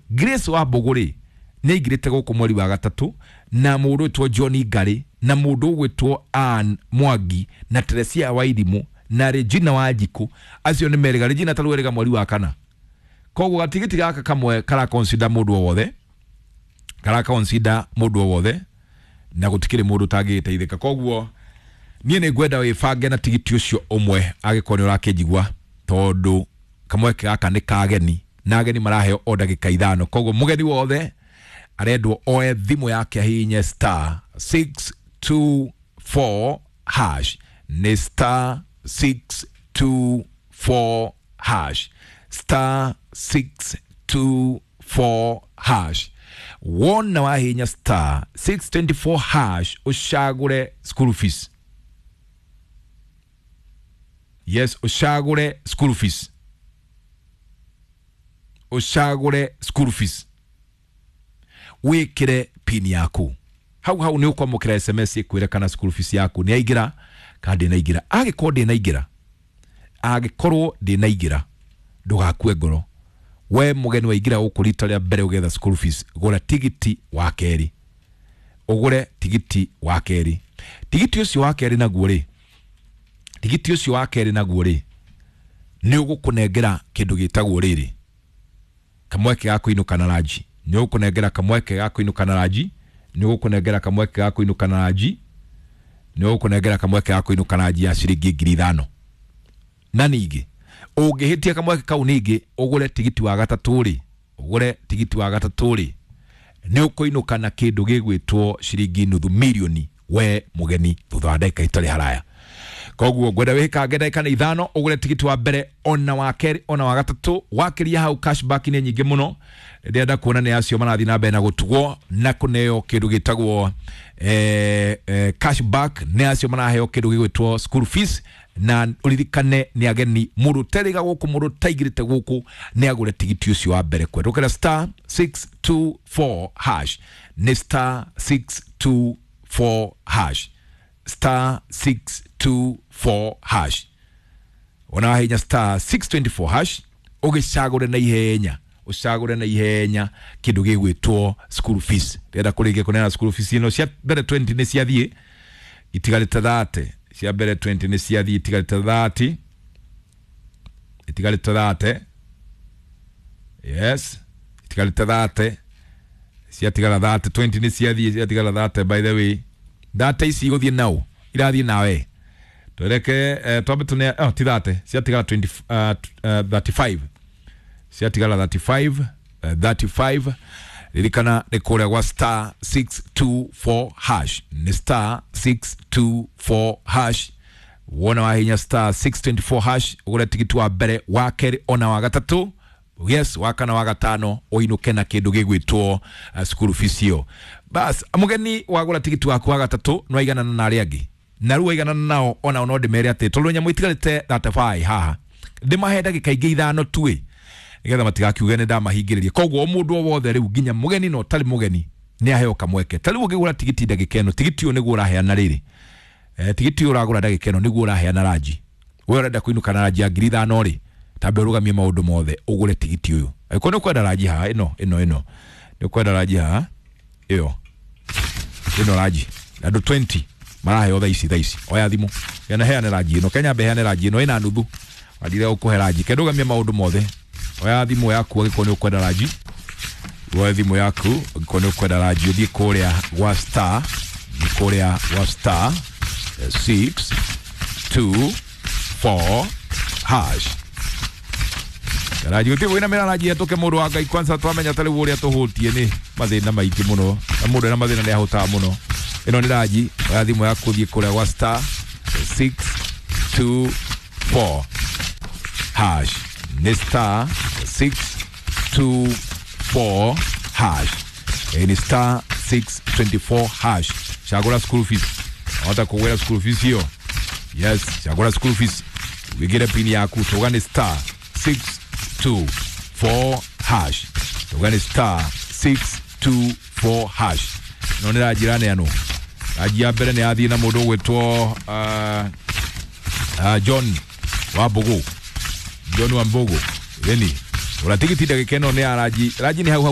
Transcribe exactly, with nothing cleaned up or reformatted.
Grace Wambugu rĩ nĩ aingĩrĩte gũkũ mweri wa gatatũ, na mũndũ wĩtwo John Ngari, na mũndũ ũgwĩtwo Ann Mwangi, na Teresia Wairimu, na Regina Wanjiku, acio nĩ merĩga. Regina tarĩu erĩga mweri wa kana. Koguo gatigiti gaka kamwe kara consider mũndũ o wothe, kara consider mũndũ o wothe, na gũtikĩrĩ mũndũ ũtangĩgĩteithĩka. Koguo niĩ nĩ ngwenda wĩbange na tigiti ũcio ũmwe angĩkorwo nĩ ũrakĩnjigua, tondũ kamweke gaka nĩ kageni na ageni maraheo o ndagĩka ithano. Koguo mũgeni wothe arendwo oe thimũ yake ahihinye star six two four hash, nĩ star six two four hash, star six two four hash. Wona wahihinya star six twenty four hash ũcagũre school fees. Yes, ũcagũre school fees, ũcagũre school fees, wĩkĩre pin yaku hau hau nĩ ũkwamũkĩra S M S ĩkwĩre kana school fees yaku nĩ yaingĩra kana ndĩnaingĩra. Angĩkorwo ndĩnaingĩra, angĩkorwo ndĩnaingĩra, ndũgakue ngoro. We mũgeni waingĩra gũkũ rita rĩa mbere ũgetha school fees, gũra tigiti wa kerĩ, ũgũre tigiti wa kerĩ. Tigiti ũcio wa kerĩ naguo rĩ, tigiti ũcio wa kerĩ naguo rĩ, nĩ ũgũkũnengera kĩndũ gĩtagwo rĩrĩ kamweke ga kũinũka na ranji, nĩ ũgũkũnengera kamweke ga kũinũka na ranji, nĩ ũgũkũnengera kamweke ga kũinũka na ranji, nĩ ũgũkũnengera kamweke ga kũinũka na ranji ya ciringi ngiri ithano. Na ningĩ ũngĩhĩtia kamweke kau ningĩ ũgũre tigiti wa gatatũ rĩ, ũgũre tigiti wa gatatũ rĩ, nĩ ũkũinũka na kĩndũ gĩgwĩtwo ciringi nuthu mirioni we mũgeni thutha wa ndagĩka itarĩ haraya. Koguo ngwenda wĩkange ndagĩka nĩ ithano ũgũre tigiti wa mbere ona wa kerĩ ona wa gatatũ. Wakĩria hau cashback nĩ nyingĩ mũno, ndĩrenda kuona nĩ acio marathiĩ na mbere na gũtugwo na kũneo kĩndũ gĩtagwo eh, eh, cashback, nĩ acio maraheo kĩndũ gĩgwĩtwo school fees. Na ũririkane nĩ ageni, mũndũ ũterĩga gũkũ, mũndũ ũtaingĩrĩte gũkũ nĩ agũre tigiti ũcio wa mbere. Kwendũkĩra star six two four hash, nĩ star six two four hash, star six two four hash. Ona wahinya star six twenty four hash ũgĩcagũre na ihenya, ũcagũre na ihenya kĩndũ gĩgwĩtwo school fees. Ndĩrenda kũrĩkia kũneana school fees ĩno cia mbere twenty nĩ ciathiĩ itigarĩte thirty, cia mbere twenty nĩ ciathiĩ itigarĩte thirty, itigarĩte thirty, yes, itigarĩte thirty, ciatigara thirty, twenty nĩ ciathiĩ ciatigara thirty. By the way, thirty ici igũthiĩ nao irathiĩ nawe twereke eh, twambe tune, oh, ti thirty, ciatigara twenty, uh, uh, thirty five, ciatigara thirty five, uh, thirty five. Ririkana nĩ kũrĩa gwa star six two four hash, nĩ star six two four hash. Wona wahinya star six twenty four hash ũgũre tigiti wa mbere, wa kerĩ ona wa gatatũ, yes, wa kana wa gatano, ũinũke na kĩndũ gĩgwĩtwo uh, school fees ĩyo. Bas mũgeni wagũra tigiti waku wa gatatũ nĩ waiganana na arĩa angĩ, na rĩu waiganana nao ona no ndĩmere atĩ tondũ nyamũ itigarĩte thirty five haha, ndĩmahe ndagĩka ingĩ ithano tu ĩ, nĩgetha matigakiuge nĩ ndamahingĩrĩria. Koguo o mũndũ o wothe rĩu nginya mũgeni na ũtarĩ mũgeni nĩ aheo kamweke. Ta rĩu ũngĩgũra tigiti ndagĩka ĩno, tigiti ũyũ nĩguo ũraheana rĩrĩ, eh, tigiti ũyũ ũragũra ndagĩka ĩno nĩguo ũraheana ranji. We ũrenda kũinũka na ranji ya ngiri ithano rĩ, tambe ũrũgamie maũndũ mothe ũgũre tigiti ũyũ. Angĩkorwo nĩ ũkwenda ranji haha, ĩno ĩno ĩno nĩ ũkwenda ranji haha, ĩyo ĩno ranji andũ twenty maraheo thaa ici, thaa ici. Oya thimũ kana heane ranji ĩno, Kenya mbe heane ranji ĩno ĩna nuthu, wandire ũkũhe ranji, ke ndũgamie maũndũ mothe. Oya thimũ yaku angĩkorwo nĩ ũkwenda ranji, oya thimũ yaku angĩkorwo nĩ ũkwenda ranji, ũthiĩ kũrĩa gwa star, kũrĩa gwa star six two four hash. Ranji gũtirĩ wĩna ranji hetũke mũndũ wa Ngai. Kwanza twamenya ta rĩu ũrĩa tũhũtie nĩ mathĩna maingĩ mũno, na mũndũ ena mathĩna nĩ ahũtaga mũno. Ĩno nĩ ranji, oya thimũ yaku ũthiĩ kũrĩa gwa star six two four hash, nĩ star six two four hash, nĩ star six twenty four hash. Cagũra school fees, wahota kũgwĩra school fees ĩyo, yes, cagũra school fees, wĩkĩre pin yaku, tũga nĩ star six two four hash, tũga nĩ star six two four hash. No nĩ ranji ĩraneanwo, ranji ya mbere nĩ yathiĩ na mũndũ ũgwĩtwo uh, uh, John Wambugu, John Wambugu, ĩni ũra tigiti ndagĩka ĩno nĩ ya ranji, ranji nĩ hau hau.